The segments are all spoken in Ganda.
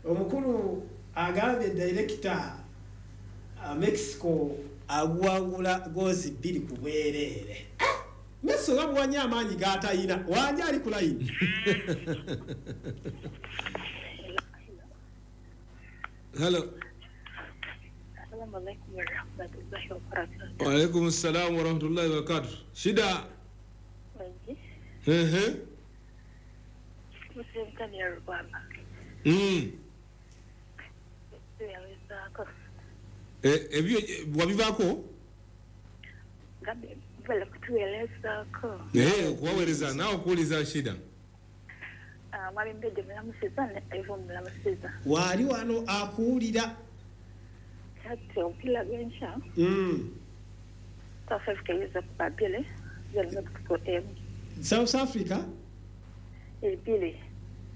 Omukulu agambye director, Mexico aguwangula gozi 2 ku bwereere. Mexico gamuwanya amaanyi g'atayina. Wanja ali ku layini. Hello. Assalamu alaikum warahmatullahi wabarakatuh. Wa alaikum salam warahmatullahi wabarakatuh. Shida. Wengi. Ehe. Muslim ya Rwanda. Ebyo wabivako? Gabi bala kutuelezako. Kuwaeleza nao kuuliza shida. Mwami Mbeje mulamusiza ne Ivo mulamusiza. Wali wano akuwulira. Kati ompila gwencha. South Africa yuza kubabile. South Africa? Ebile.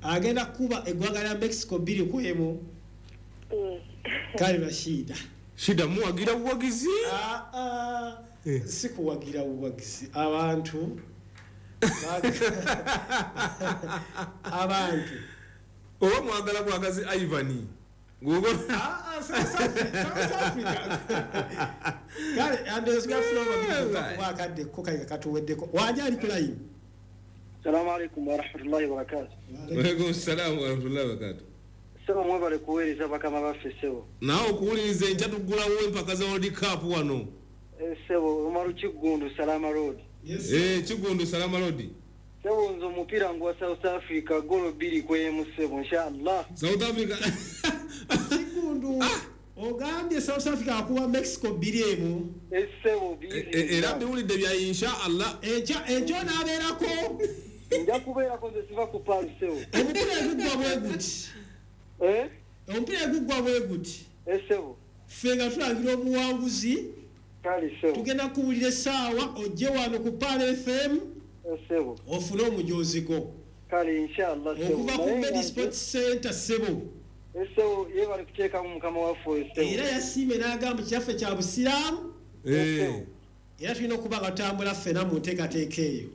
Agenda kuba eggwanga lya Mexico 2-1. Kale Rashida. Shida muwagira buwagizi? Si kuwagira buwagizi. Abantu. Abantu. Oba mwagala bwagazi Ivan. South Africa. Kale andezga flow wakadde ko kale katuweddeko. Wanja ali ku line. Assalamu alaikum wa rahmatullahi wa barakatuh. Wa alaikum salam wa rahmatullahi wa barakatuh. Sebo mwebale kuweereza bakama baffe sebo. Naawe okuwuliriza enkya tuggulawo empaka za World Cup wano. Sebo Umaru Kigundu Salama Road. Yes. Kigundu Salama Road. Sebo nze omupiira ngwa South Africa golo 2-1 sebo inshallah. South Africa. Kigundu. Ogambye South Africa akuwa Mexico 2-1. Sebo 2. Era mbiwulidde bya inshallah. Enkya onaabeerako. Nja kubeerako nze siva ku Paris sebo. Omupiira guggwa bwe guti. Omupiira guggwa bwe guti. Sebo. Ffe nga tulangira obuwanguzi. Kale sebo. Tugenda kuwulira essaawa ojje wano ku Pearl FM. Sebo. Ofune omujoozi gwo. Kale inshallah sebo. Okuva ku Medi Sports Center sebo. Sebo yebale kuteekamu mukama waffe sebo. Era yasiimye n'agamba kyaffe kya busiraamu. Era tulina okuba nga tutambula ffenna mu nteekateeka eyo.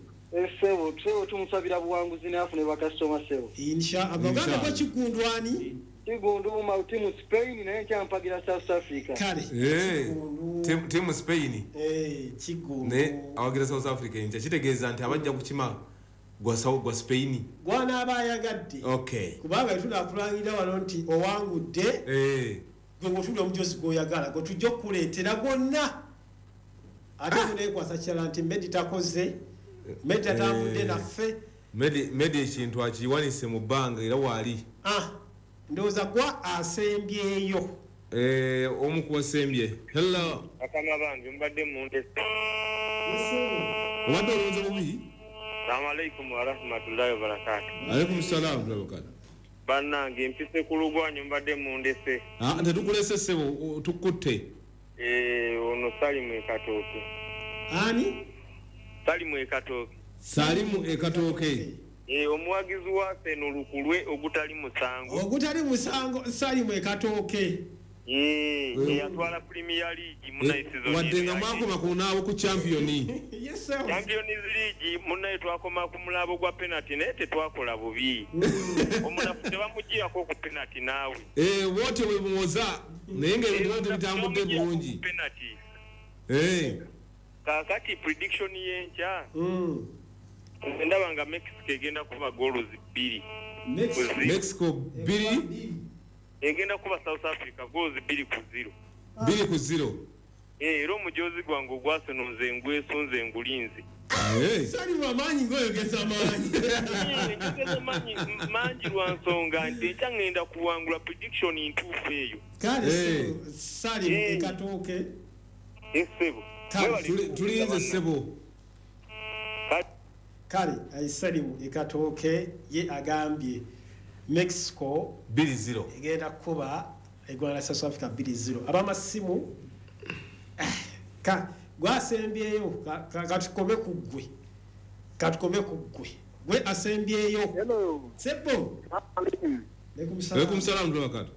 Sebo, sebo tumusabira buwanguzi n'afune bakasitoma sebo. Inshallah. Ogambye ko Kigundu ani? Kigundu mu timu Spain naye nkyampagira South Africa. Kale. Timu Spain. Kigundu. Ne awagira South Africa enkya kitegeeza nti abajja kukima gwa Spain. Gw'anaaba ayagadde. Okay. Kubanga tunakulangira wano nti owangudde. Gwe ng'otulira omujozi gw'oyagala gwe tujja okukuleetera gwonna. Ate guneekwasa kirala nti Medi takoze. Medi atambudde naffe. Medi ekintu akiwanise mu bbanga era waali. Ndowooza gwa asembyeyo. Omu ku wasembye. Hello. Bakama bange mbadde mundese. Obadde olowooza bubi? Assalamu alaikum wa rahmatullahi wa barakatuh. Alaikum salaam wa barakatuh. Bannange mpise ku lugwanyu mbadde mundese. Tetukulese ssebo tukutte. Ono Salimu e Katooke. Ani? Salimu e Katooke. Salimu e Katooke. Omuwagizi wa Arsenal lukulwe ogutali musango. Ogutali musango Salimu e Katooke. Yatwala Premier League munaye season. Wadde nga mwakoma ku naabo ku champion. Yes sir. Champions League munaye twakoma ku mulabo gwa penalty naye tetwakola bubi. Omunafu tebamuggyako ku penalty naawe. Wote bwe muwoza naye ng'ebintu bitambudde bulungi. Penalty. Kakati prediction y'enkya. Ndaba nga Mexico egenda kuba goals 2. Mexico 2 egenda kuba South Africa goals 2-0. 2-0. Era omujozi gwange ogwa Arsenal nze ngwesunze ngulinze. Sali wamaanyi ng'oyogeza maanyi. Njogeza maanyi mangi lwa nsonga nti enkya ngenda kuwangula prediction ntuufu eyo. Kale Sali e Katooke. Ssebo. Tulinze ssebo. Kale Salimu e Katooke ye agambye Mexico 2-0 egenda kuba eggwanga lya South Africa 2-0. Abamasimu gwasembyeyo katukome ku ggwe. Katukome ku ggwe. Gwe asembyeyo. Hello. Sebo. Alaikum salam wa barakatuh.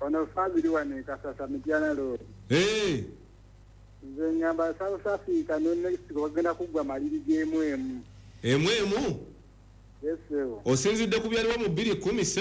Ono family wane Kasasa Mityana Road. Nze ngamba South Africa ne Mexico bagenda kuggwa maliri g'emu emu. Emu emu? Yes, sebo. Osinzidde ku byaliwo mu 217.